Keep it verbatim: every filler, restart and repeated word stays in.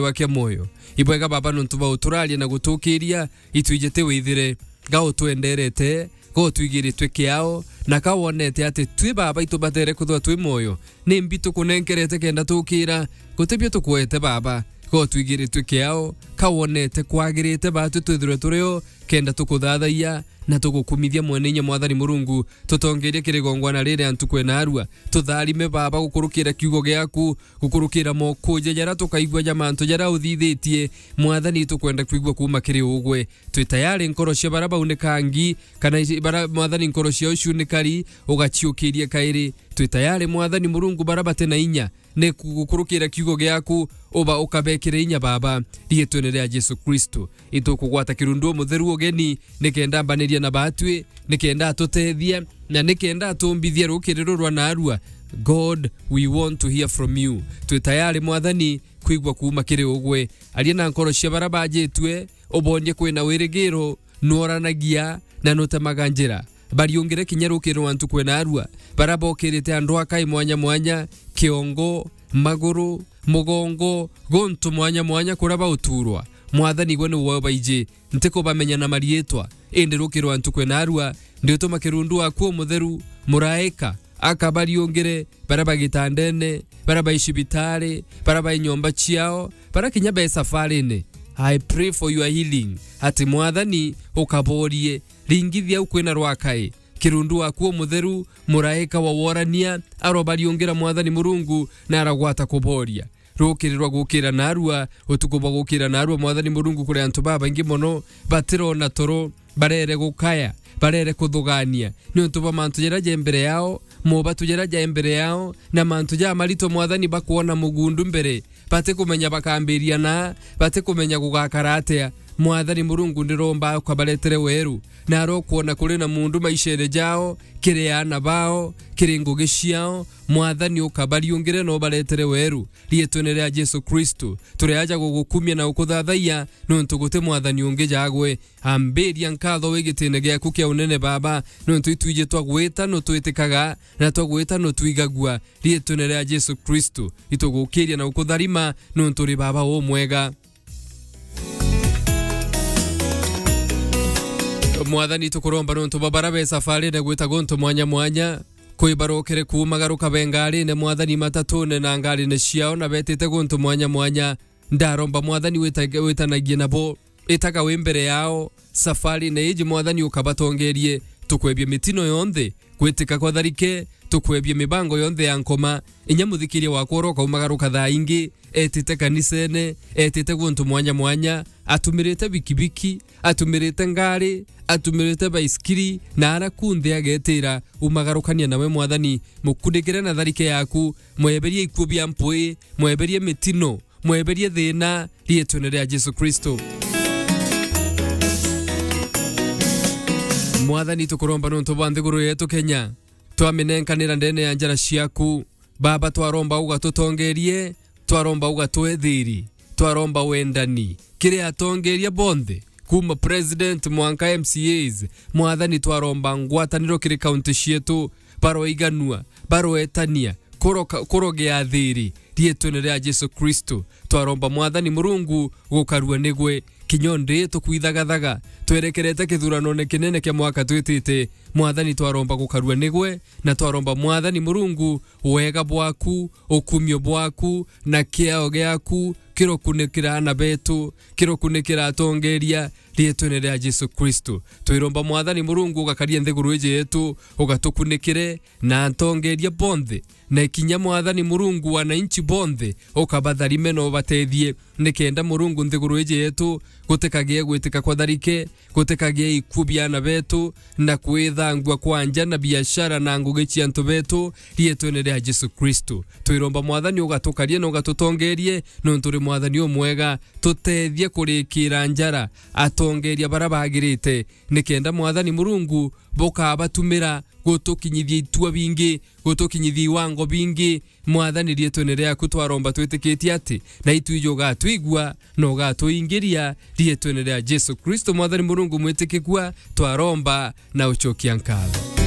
wa kia mwoyo. Ibwega Baba nontu bwa uturaria na gutukiria, itwijite withire, ga utwenderete, ga utwigiritwe kiao, na ka wonete ati twi Baba itubatere kwithirwa twi mwoyo. Ni mbi tukunenkerete kenda tukira, guti bio tukwete Baba, ga utwigiritwe kiao, ka wonete kwagirite batwi twithirwe turio, kenda tukuthathayia, na tugukumithia mwene inya Mwathani Murungu, tutongerie kiri gongwana riri antu kwena arua. Tutharime Baba gukurukira kiugo giaku, gukurukira mokuja jaria tukaigua ja mantu jaria uthithitie. Mwathani, tukwenda kwigua kuuma kiri ugwe. Twi tayari nkoro cia baria baunika ngi, kana ici-, baria, Mwathani, nkoro ciao ciunikari, ugaciukirie kairi. Twi tayari, Mwathani Murungu, baria bati na inya, ni ku-, gukurukira kiugo giaku, uba ukabekire inya, Baba, riitwene ria Jesu Kristo. Itukugwata kirundu umutheru ugeni, nikenda ambaniria na batwi, nikenda atutethia, na nikenda atumbithia rukiri ruru rwa narua. God, we want to hear from you. Twi tayari, Mwathani, kwigua kuuma kiri ugwe. Aria na nkoro cia baria bajitue, ubonie kwina wirigiro, nuoranagia, na nutemaga njira. Bariungire kinya rukiri rwa ntuku ena arua, baria bokirite andu akai mwanya mwanya, kiongo, maguru, mugongo, guntu mwanya mwanya kuria bauturwa. Mwathani, gwe niwe ubaiji, ntikubamenya na mariitwa, indi rukiri rwa ntuku ena arua, ndiutuma kirundu waku umutheru, muraika, akabariungire, baria ba gitandene, baria bai cibitari, baria bai nyomba ciao, baria kinya be safarine. I pray for your healing, ati Mwathani ukaborie, ringithia au kwina rwakai. Kirundu waku umutheru, muraika wa worania, arobariungira Mwathani Murungu, na aragwata kuboria. Rukiri rwa gukira narua, utuku bwa gukira narua, Mwathani Murungu, kuri antu babaingi mono, batirona toro, barere gukaya, barere kuthugania, niuntu bwa mantu jaria ja mbere yao, mobatu jaria ja mbere yao, na mantu ja marito, Mwathani, bakwona mugundu mbere, batikumenya bakambiria na, batikumenya gugakara atia. Mwathani Murungu, ndiromba ukabaretere weru, na arokwona kuri na mundu maishene jao, kiri aana bao, kiri ngugi ciao, Mwathani, ukabariungire na ubaretere weru. Riitwene ria Jesu Kristo, turi aja gugukumia na gukuthathayia, niuntu guti Mwathani ungi jagwe. Ambiria nkatho wi gitine giaku kia unene, Baba, niuntu itwiji twagwita nutwitikaga, na twagwita nutwigagua. Riitwene ria Jesu Kristo, itugukiria na gukutharima, niuntu uri Baba umwega. Mwathani, tukuromba niuntu bwa baria be safarine gwita guntu mwanya mwanya, kwi barokere kuumagaruka be ngarine, Mwathani, matatune na ngarine ciao, na betite guntu mwanya mwanya. Ndaromba, Mwathani, wita-, witanagie nabo. Itaga wi mbere yao. Safarine iji, Mwathani, ukabatongerie. Tukwebia mitino yonthe, gwitika kwa tharike, tukwebia mibango yonthe ya nkoma. Inya muthikiria wakwa uria ukaumagaruka thaa ingi, etite kanisene, etite guntu mwanya mwanya, atumirite bikibiki, atumirite ngari, atumirite baisikiri, na ara kunthe agetira, umagarukania nawe, Mwathani, mukunikire na tharike yaku, mweberie ikuo bia mpui, mweberie mitino, mweberie thina, riitwene ria Jesu Kristo. Mwathani, tukuromba niuntu bwa nthiguru yetu Kenya, twaminenkanira ndene ya njara ciaku. Baba, twaromba ugatutongerie, twaromba ugatwe thiri, twaromba wendani kiri atongeria bonthe, kuma president mwanka M C As. Mwathani, twaromba ngwataniro kiri kaunti cietu, baroiganua, baroetania, kuroka-, kurogea thiri, riitwene ria Jesu Kristo. Twaromba, Mwathani Murungu, gukarua nigwe. Kinya ndi tukwithagathaga, twerekerete kithuranone kinene kia mwaka twitite. Mwathani, twaromba gukarua nigwe, na twaromba, Mwathani Murungu, wega bwaku, ukumio bwaku, na kiao giaku kirokunikira aana betu, kirokunikira atongeria, riitwene ria Jesu Kristo. Twiromba, Mwathani Murungu, ugakaria nthiguru iji yetu, ugatukunikire, na atongeria bonthe, na kinya, Mwathani Murungu, wananchi bonthe, ukabatharime na ubatethie, nikenda, Murungu, nthiguru iji yetu gutikagie gwitika kwa tharike, gutikagie ikuo bia aana betu, na kwithangua kwa nja na biashara na ngugi cia antu betu, riitwene ria Jesu Kristo. Twiromba, Mwathani, ugatukarie na ugatutongerie, niuntu uri Mwathani umwega. Tutethie kurikira njara atongeria baria bagirite, nikenda, Mwathani Murungu, bukabatumira gutukinyithia itua bingi, gutukinyithia iwango bingi. Mwathani, riitwene riaku twaromba twitikitie ati na itwiji ugatwigua na ugatuingiria. Riitwene ria Jesu Kristo, Mwathani Murungu mwitikikua, twaromba na ucokia nkatho.